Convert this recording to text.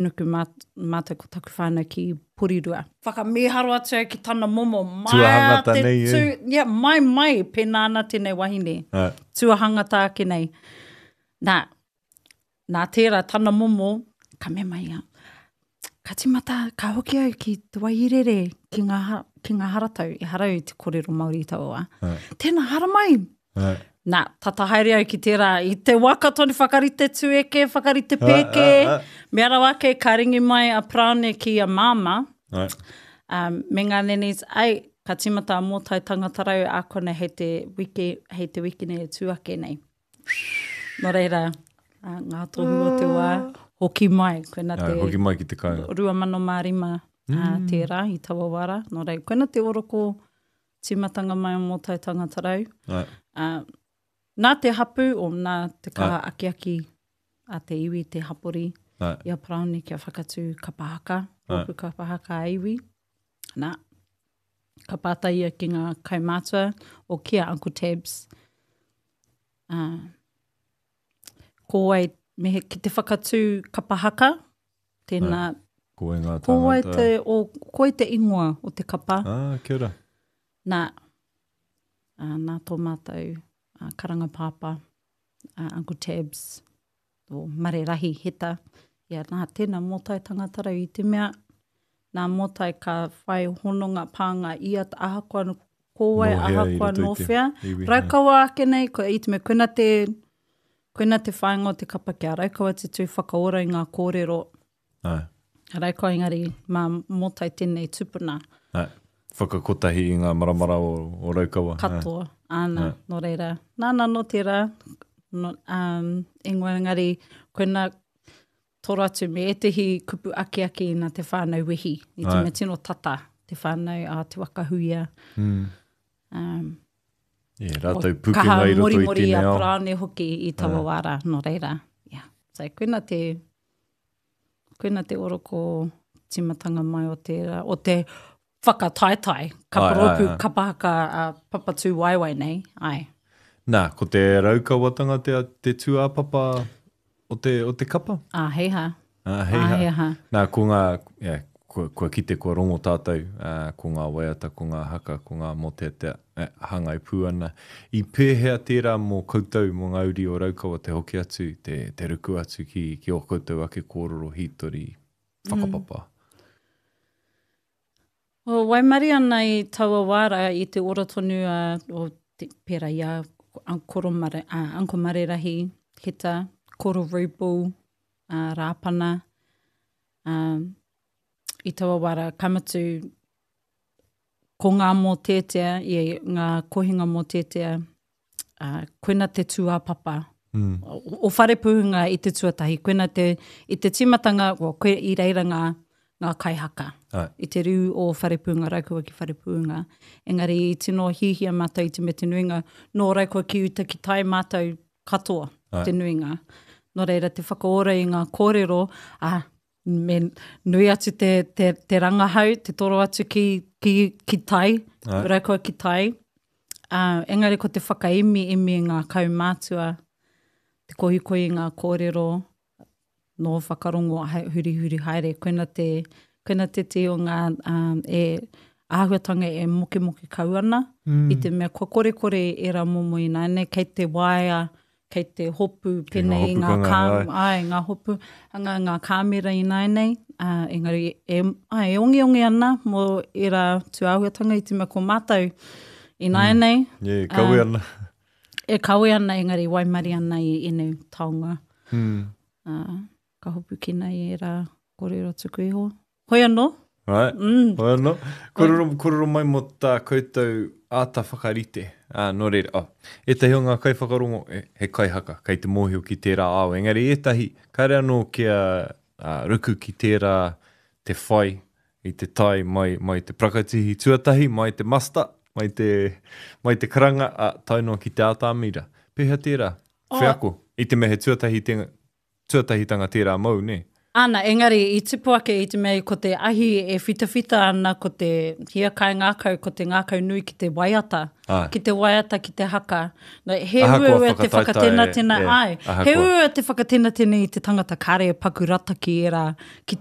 Nuku mātou ko taku whānau ki Porirua. Whakamīharo atu au ki tana momo. Tuahangata nei e. Yeah, mai mai, pēnā ana tēnei wahine. Ai. Tuahangata ake nei. Nā, nā tērā tana momo, ka mea mai ia, ka tīmata, ka hoki au ki te Waihirere, ki ngā, ki ngā haratau, ehara au i te kōrero Māori i taua wā. Ai. Tēnā, haramai! Ai. Nā, tata haere au ki tērā, i te waka tonu whakarite tueke, whakarite pēke, Ai, ai, ai. mea rawa ake ka ringi mai a Paraone ki a Māmā, Ai. um, me ngā nannies, ai, ka tīmata a Mōtai Tangatarau ākona hei te wiki, hei te wikine e tū ake nei. Nō reira, uh, ngā tohu o te wā, hoki mai, koina te... Ai, hoki mai ki te kāinga. 2005 mm. uh, tērā i taua wā rā. Nō reira, koina te oroko tīmatanga mai o Mōtai Tangatarau. Ai. Uh, nā te hapu o nā te kaha Ai. akiaki a te iwi, te hapori, Ai. i a Paraone kia whakatū kapa haka, rōpū kapa haka a iwi. Nā, ka pātai ia ki ngā kaumātua o ki a Uncle Tabs. Uh, ko wai, me he, ki te whakatū kapa haka, tēnā, Ai. Ko wai ngā ko wai tāngata? te, o, ko wai te ingoa o te kapa. Ah, kia ora. Nā, uh, nā tō mātou uh, karanga pāpā, uh, Uncle Tabs, o Mare Rahi Heta, ia nā tēnā mōtai tangata rau i te mea, nā mōtai ka whai hononga pānga ia ahakoa ko wai, Nō hea i ahakoa roto nō i te whea. iwi, Raukawa ake nei, ko, i te mea, koina te, koina te whāinga o te kapa kia Raukawa te tū whakaora i ngā kōrero. Āe. Raukawa engari mā mōtai tēnei tupuna. Āe. Whakakotahi i ngā maramara o, o Raukawa. Katoa, āna, Āe. nō reira. Nāna nō tērā, no, um, ingoa engari, koina toro atu me ētehi kupu akiaki nā te whānau wehi, i te Āe. mea tino tata, te whānau a Te Waka Huia. Mm. Um, Yeah, rātou o pukenga kaha i roto i morimori tēnei a ao. Paraone hoki i taua Āe. wā rā, nō reira. Yeah. So, koina te, koina te oroko tīmatanga mai o tērā, o te whakataetae, ka Ai, ai, rōpū ai. kapa haka a Papatūwaewae nei, ai. Nā, ko te Raukawatanga te, te tūāpapa o te, o te kapa? Ā, hei hā. Ā, hei Ā, hā. hei hā. Nā, ko ngā, yeah, kua, kua kite, kua rongo tātou, ā, ko ngā waiata, ko ngā haka, ko ngā mōteatea, e, hāngai pū ana. I pēhea tērā mō koutou, mō ngā uri o Raukawa te hoki atu, te, te ruku atu ki, ki ō koutou ake kōrero hītori, whakapapa? Mm. O, waimarie ana i taua wā rā, i te ora tonu a, o, te, pērā i a Koro Mare, a Uncle Marerahi, Heta, Koro Rubel, a Rāpana, a, i taua wā rā, ka mutu, ko ngā mōteatea, i ngā kohinga mōteatea, ā, koina te tūāpapa mm. o, o Wharepuhunga i te tuatahi, koina te, i te tīmatanga, well, koe, i reira ngā, ngā kaihaka. Ai. I te riu o Wharepuhunga, Raukawa ki Wharepuhunga. Engari i tino hihia mātou i te me te nuinga, nō Raukawa ki uta ki tai mātou katoa, Ai. te nuinga. Nō reira te whakaora i ngā kōrero, ā, me nui atu te, te, te rangahau, te toro atu ki, ki, ki tai, Ai. Raukawa ki tai. Uh, engari ko te whakaemi emi i ngā kaumātua, te kohikohi i ngā kōrero, nō whakarongo hurihuri haere, koina te, koina te tī o ngā um, e, āhuatanga e mokemoke kau ana, mm. i te mea kua korekore ērā momo ināianei, kei te waea, kei te hopu pēnei i ngā kā, ai, ngā hopu, anga ngā kāmera ināianei, ā, engari e, ai, e ongeonge ana mō ērā tūāhuatanga i te mea ko mātou ināianei. Mm. Yeah, e kawe ana. E kawe ana, engari waimarie ana i ēnei taonga. Mm. Ā, ka hopukina i ērā kōrero tuku iho. Hoi anō. Right. Mm. Hoi anō. Kōrero, kōrero mai mō tā koutou āta whakarite. Ā, nō reira, oh, ētahi o ngā kaiwhakarongo, e, he kaihaka, kei te mōhio ki tērā ao. Engari ētahi, kāre anō kia ā, ruku ki tērā te whai i te tai mai, mai te prakatihi tuatahi, mai te muster, mai te, mai te karanga, ā, tae noa ki te ātamira. Pēhea tērā? Oh. Wheako. I te mea he tuatahi te, tuatahitanga tērā mōu, nē? Ana, engari i tupu ake i te mea ko te ahi e whitawhita ana, ko te hiakai ngākau, ko te ngākau nui ki te waiata, Āe. ki te waiata, ki te haka. No, he Ahakoa uaua te whakataetae, whakatenatena, e, āe, he ahakoa. uaua te whakatenatena i te tangata kāre e paku rata ki ērā, ki.